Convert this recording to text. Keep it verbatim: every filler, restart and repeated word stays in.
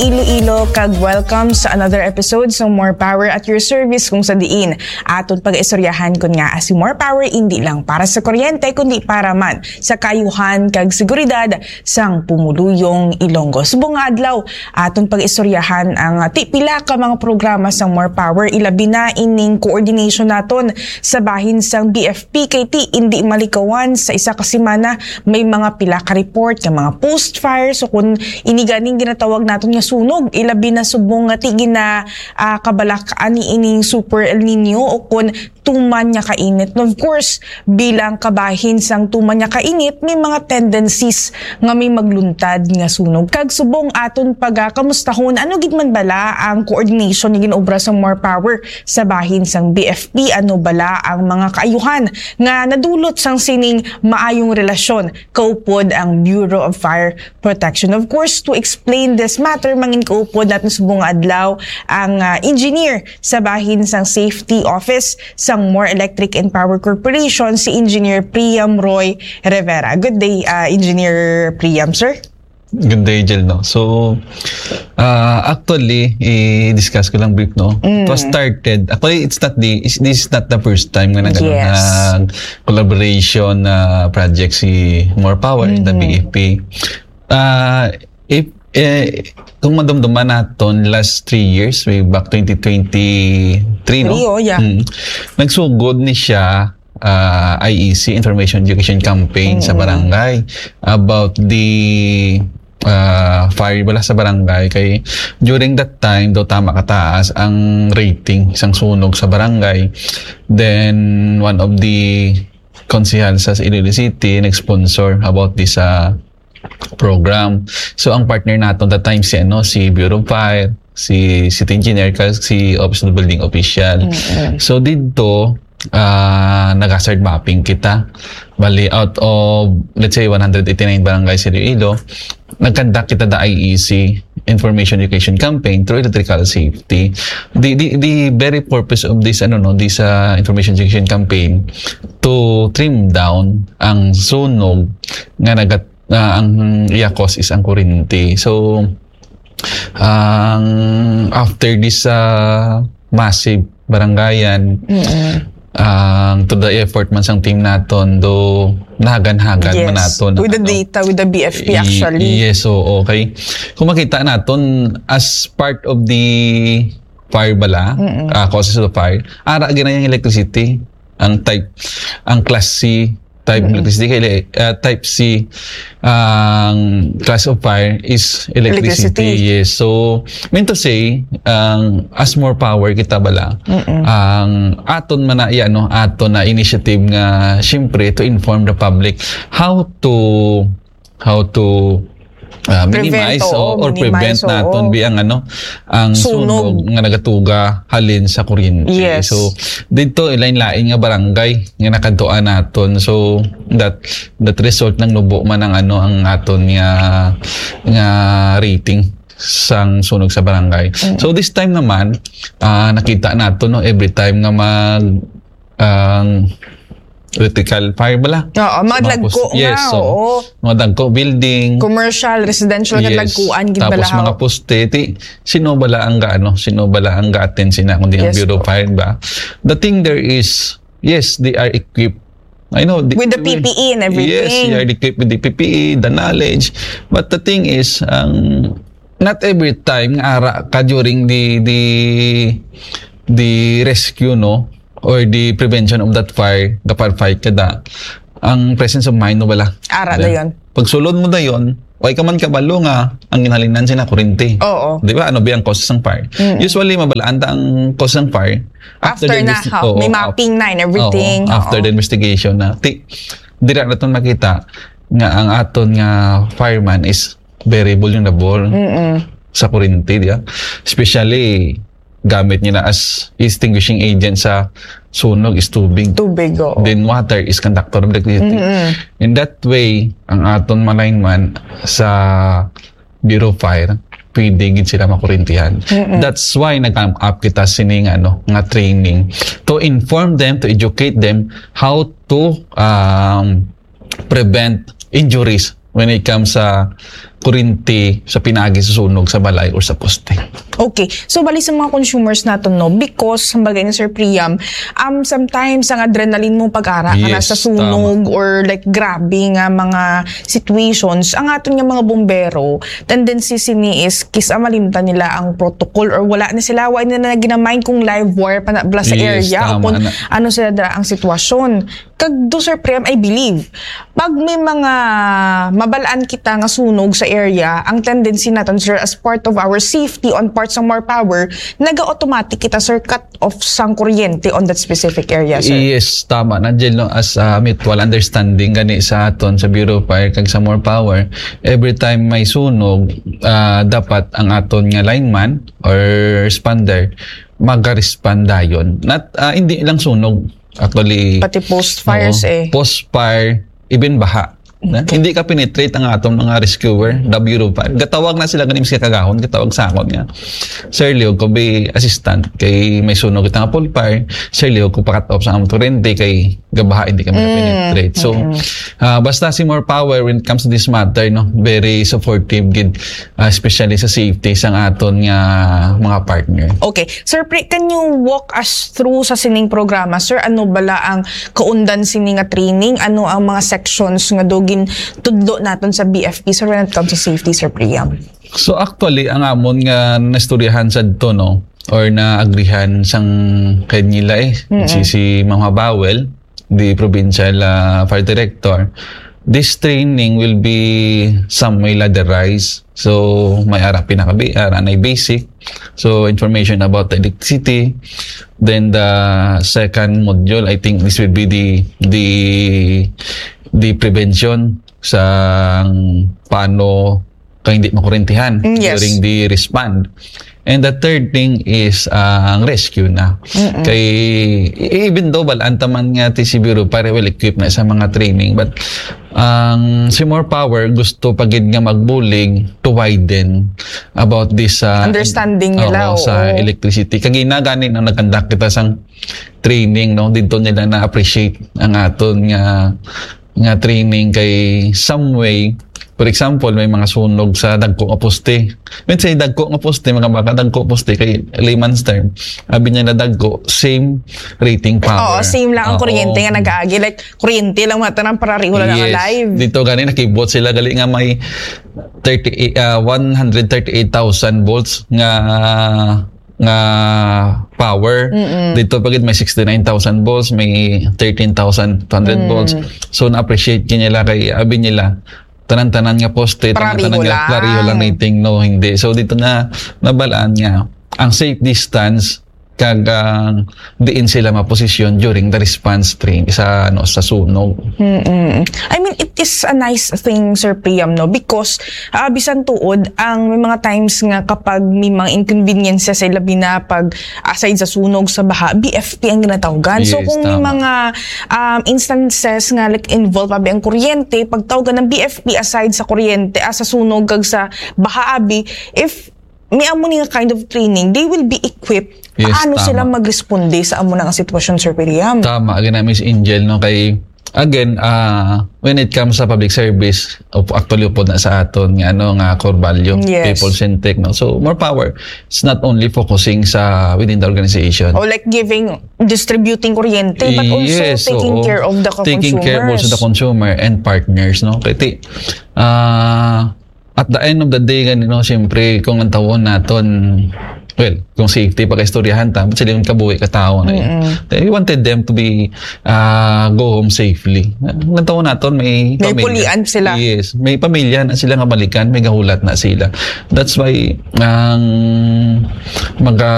Iloilo, kag welcome sa another episode sa More Power at Your Service, kung sa diin aton pag-istoryahan kon nga si More Power indi lang para sa kuryente kundi para man sa kaayuhan kag seguridad sang pumuluyong Ilonggo. Subong nga adlaw, aton pag-istoryahan ang, ah, ti pila ka mga programa sang More Power, ilabi na ining coordination naton sa bahin sang B F P, kay ti indi malikawan sa isa ka semana may mga pila ka report nga mga post fire. So kung ini ganing ginatawag naton nga sunog, ilabi na subong nga ti gina, ah, kabalak-an ni ining Super El Nino o kun tuman nga kainit. And of course, bilang kabahin sang tuman nga kainit, may mga tendencies nga may magluntad nga sunog. Kag subong aton pagakamustahon, ano gid man bala ang coordination nga ginaobra sa More Power sa bahin sang B F P? Ano bala ang mga kaayuhan nga nadulot sang sining maayong relasyon kaupod ang Bureau of Fire Protection? Of course, to explain this matter, mangin kaupod naton subong nga adlaw ang, ah, engineer sa bahin sang Safety Office sang More Electric and Power Corporation, si Engineer Priam Roy Rivera. Good day, ah, Engineer Priam, sir. Good day, Jel, no? So, ah, actually, i-discuss ko lang brief, no? It was Mm. started, actually, it's not the, it's, this is not the first time nga nag-, ano, Yes. nag-collaboration na project si More Power in the Mhm. B F P. Ah, if, eh, kung madumduman naton, last three years, way back twenty twenty-three, no? Three, oh, yeah. Mm. Nagsugod ni siya, ah, I E C, Information Education Campaign sa Mm-mm. barangay about the, ah, fire bala sa barangay. Kay during that time, daw tama kataas ang rating sang sunog sa barangay. Then, one of the konsehal sa Iloilo City nag-sponsor about this, ah, program. So, ang partner naton that time si, ano, si Bureau of Fire, si city engineer, kag si Office of the Building Official. Mm-mm. So, didto, ah, nag-hazard mapping kita. Bali, out of, let's say, one hundred eighty-nine barangays sa Iloilo, nag-conduct kita the I E C, Information Education Campaign through electrical safety. The, the, the very purpose of this, ano, no, this, ah, Information Education Campaign to trim down ang sunog nga nagat-, ah, ang iya cause is ang kuryente. So, ang after this, ah, massive barangayan, Mm-mm. ang to the effort man sang team naton, do nahagan-hagan man Yes. naton With the ang, ano, data, with the B F P, i-, actually. yes, oo, okay. Kung makita naton, as part of the fire bala, Mm-mm. ah, causes of the fire, ara gina yung electricity, ang type, ang class C type Mm-mm. electricity, kay, ah, type C, ang class of fire is electricity. Electricity. Yes. So, mean to say, ang as More Power kita bala, Mm-mm. ang aton man na, iya, no, aton na initiative nga, siyempre, to inform the public how to, how to, ah, Prevent, minimize oo, o, or minimize, prevent naton oo. bi ang, ano, ang Sunog. sunog nga nagatuga halin sa kuryente. Yes. So, dito, lain-lain nga barangay nga nakadtuan naton. So, that, that result nang nubo man ang, ano, ang aton nga, nga rating sang sunog sa barangay. Mm. So, this time naman, ah, nakita naton, no, every time nga mag, ang electrical fire bala. Oo, Sa mga mga lagko pos-, yes, nga, so, oo. mga dagko building. Commercial, residential nga Yes. lagkuan, gid Tapos bala, mga ho. poste, ti, sino bala ang ga-, ano, sino bala ang ga-attend sina, kundi ang Yes, Bureau of po. Fire ba? The thing there is, yes, they are equipped. I know, the, With the P P E and everything. Yes, they are equipped with the P P E, the knowledge. But the thing is, ang, not every time nga ara ka during the, the, the rescue, no? Or the prevention of that fire, the firefight ka da, ang presence of mind mo bala. Ara Then, dayon. Pagsulod mo dayon, way ka man kabalo nga ang ginhalinan sina kuryente. Oo. Di ba? Ano ba ang cause sang fire? Mm. Usually, mabalaan ta ang cause sang fire After after the na, investi-, ha, oo, may af-, mapping na and everything. oo, after Oo. the investigation na. Ti-, dira naton makita nga ang aton nga fireman is very vulnerable Mm-mm. sa kuryente, di ba? Especially, gamit nila as extinguishing agent sa sunog is tubig. Tubig, oo. Then water is conductor of electricity. Mm-mm. In that way, ang aton mga lineman sa Bureau of Fire, pwede gid sila makurintihan. Mm-mm. That's why nag-come up kita sining, ano, nga training to inform them, to educate them how to, um, prevent injuries when it comes sa, kuryente sa pinaagi sa sunog sa balay or sa poste. Okay. So, bali sa mga consumers naton, no, because, kumbaga ni Sir Priam, um, sometimes ang adrenaline mo pag-ara ka na Yes, sa sunog or like grabe nga mga situations, ang aton nga mga bumbero, tendency sini is kis-a malimtan nila ang protocol or wala na sila, wa nila na ginamind kung live wire pa na bala sa Yes, area o tama kung na. ano sila dira ang sitwasyon. Kag do, Sir Priam, I believe, pag may mga mabalaan kita nga sunog sa area, ang tendency naton, sir, as part of our safety on part sang More Power, naga-automatic kita, sir, cut off sang kuryente on that specific area, sir. Yes, tama na, Jel, no? As a mutual understanding gani sa aton sa Bureau of Fire kag sa More Power, every time may sunog, ah, dapat ang aton nga lineman or responder maga-respond dayon. Not, ah, hindi lang sunog, actually. Pati post fires, Oo. Eh. Post fire, even baha. Na? Hindi ka penetrate ang atong mga rescuer, W five. Gatawag na sila ganing sa kagahon, gatawag sa akon nga, "Sir, lihog ko bi assistant kay may sunog kita nga post fire. Sir, lihog ko pakat off sa among kurente kay gabaha, hindi kami penetrate." So, ah, basta si More Power when it comes to this matter, no, very supportive gid, ah, especially sa safety sang aton nga mga partner. Okay. Sir Pri, can you walk us through sa sining programa, sir? Ano bala ang kaundan sini nga training? Ano ang mga sections nga do gintudlo naton sa B F P, sir, when it comes to safety, Sir Priam? So actually, ang amon nga naistoryahan sa to, no, or naagrihan sang kay nila eh, si, si Ma'am Habawel, the provincial ah, fire director, this training will be some way ladderized. So may ara pinaka-B R, anay basic. So information about the electricity. Then the second module, I think this will be the the the prevention sa paano kay hindi makurintihan Mm, yes. During the respond. And the third thing is ah, ang rescue na. Kay even though balaan ta man nga ti si Bureau Fire well equipped na sa mga training, but ang si More Power gusto pa gid nga magbulig to widen about this ah, Understanding nila, oo, sa oo. Electricity. Kag ina gani nang nag-conduct kita sang training, no, dito nila na-appreciate ang aton nga nga training kay some way. For example, may mga sunog sa dagko nga poste. When say dagko nga poste, mga baka dagko poste kay layman's term. Abi niya na dagko, same rating power. Oo, same lang ang Oo. kuryente nga nag-aagi. Like, kuryente lang mata ng parariho lang ang Yes. Live. Dito gani nakibot sila gali nga may thirty, ah, one hundred thirty-eight thousand volts nga nga power. Dito pa gid may sixty-nine thousand volts, may thirteen thousand two hundred volts. So na-appreciate gid nila kay abi nila tanan-tanan nga poste, Parariho tanan-tanan nga lang. Parariho lang rating, no, hindi. So dito na nabalaan nga ang safe distance kag ang diin sila maposisyon during the response train sa ano sa sunog. Mm-mm. I mean, it is a nice thing, Sir Priam, no? Because, ah, bisan tuod, ang may mga times nga kapag may mga inconveniences sa labi na pag aside sa sunog sa baha, B F P ang ginatawgan. So Yes, kung may tama. Mga um, instances nga like involve abi ang kuryente, pagtawgan ng B F P aside sa kuryente, ah, sa sunog kag sa baha abi, if may amo ni nga kind of training, they will be equipped. Yes, Paano tama. Sila magresponde sa amo na nga sitwasyon, Sir William? Tama gina, Miss Angel, no, kay again, ah, when it comes sa public service, up- actually upod na sa aton nga ano nga core value, Yes. people centric, no. So more power. It's not only focusing sa within the organization. Or like giving, distributing kuryente, but also Yes, taking oo. care of the Taking care also the consumers. Consumer and partners, no. Kay ti- ah at the end of the day gani, no, siyempre kung ang tawon naton, well, kung safety pa kaistoryahan ta, but sila yung kabuhi ka tao na yun. Eh, we wanted them to be ah, go home safely. Ang tawon naton may May pulian sila. Yes, may pamilya na sila nga balikan, may gahulat na sila. That's why ang mga